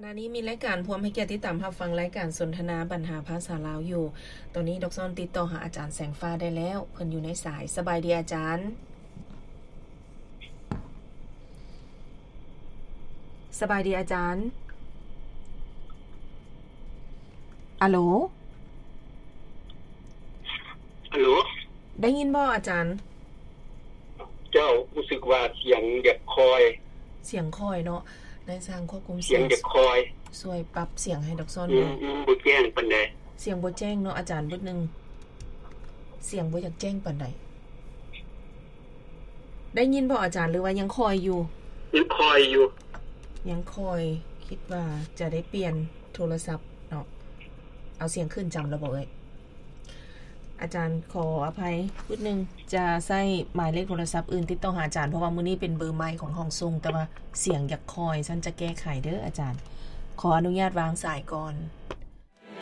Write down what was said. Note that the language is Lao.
ຂະນະນີ້ມີລາຍການພວມໃຫ້ກຽດຕິດຕາມຮັບຟັງລາຍການສົນທະນາບັນຫາພາສາລາວຢູ່. ຕອນນີ້ດອກຊອນຕິດຕໍ່ຫາອາຈານແສງຟ້າໄດ້ແລ້ວ, ເພິ່ນຢູ່ໃນສາຍ. ສະບາຍດີອາຈານ. ສະບາຍດີອາຈານ. ອາໂຫຼ? ອາໂຫຼ? ໄດ້ຍິນບໍ່ອາຈານ? ເຈົ້າ, ຮູ້ສຶກວ່າສຽງຢາກຄ່ອຍ. ສຽງຄ່ອຍເນາະ. ນາຍຊ່າງຄວບຄຸມສຽງ ສຽງຢາກຄ່ອຍ. ຊ່ວຍປັບສຽງໃຫ້ດອກຊອນແດ່. ອືມ, ອືມ, ບໍ່ແຈ້ງປານໃດ. ສຽງບໍ່ແຈ້ງເນາະອາຈານ, ບຶດໜຶ່ງ. ສຽງບໍ່ຢາກແຈ້ງປານໃດ. ໄດ້ຍິນບໍ່ອາຈານ ຫຼືວ່າຍັງຄ່ອຍຢູ່? ຍັງຄ່ອຍຢູ່. ຍັງຄ່ອຍ. ຄິດວ່າຈະໄດ້ປ່ຽນໂທລະສັບເນາະ. ເອົາສຽງຂຶ້ນຈຳແລ້ວບໍ່ເອີຍ? ອາຈານຂໍອະໄພບຶດໜຶ່ງ, ຈະໃຊ້ໝາຍເລກໂທລະສັບອື່ນຕິດຕໍ່ຫາອາຈານ, ເພາະວ່າມື້ນີ້ເປັນເບີໃໝ່ຂອງຫ້ອງສົ່ງ, ແຕ່ວ່າສຽງຢາກຄ່ອຍ, ຊັ້ນຈະແກ້ໄຂເດີອາຈານ. ຂໍອະນຸຍາດວາງສາຍກ່ອນ.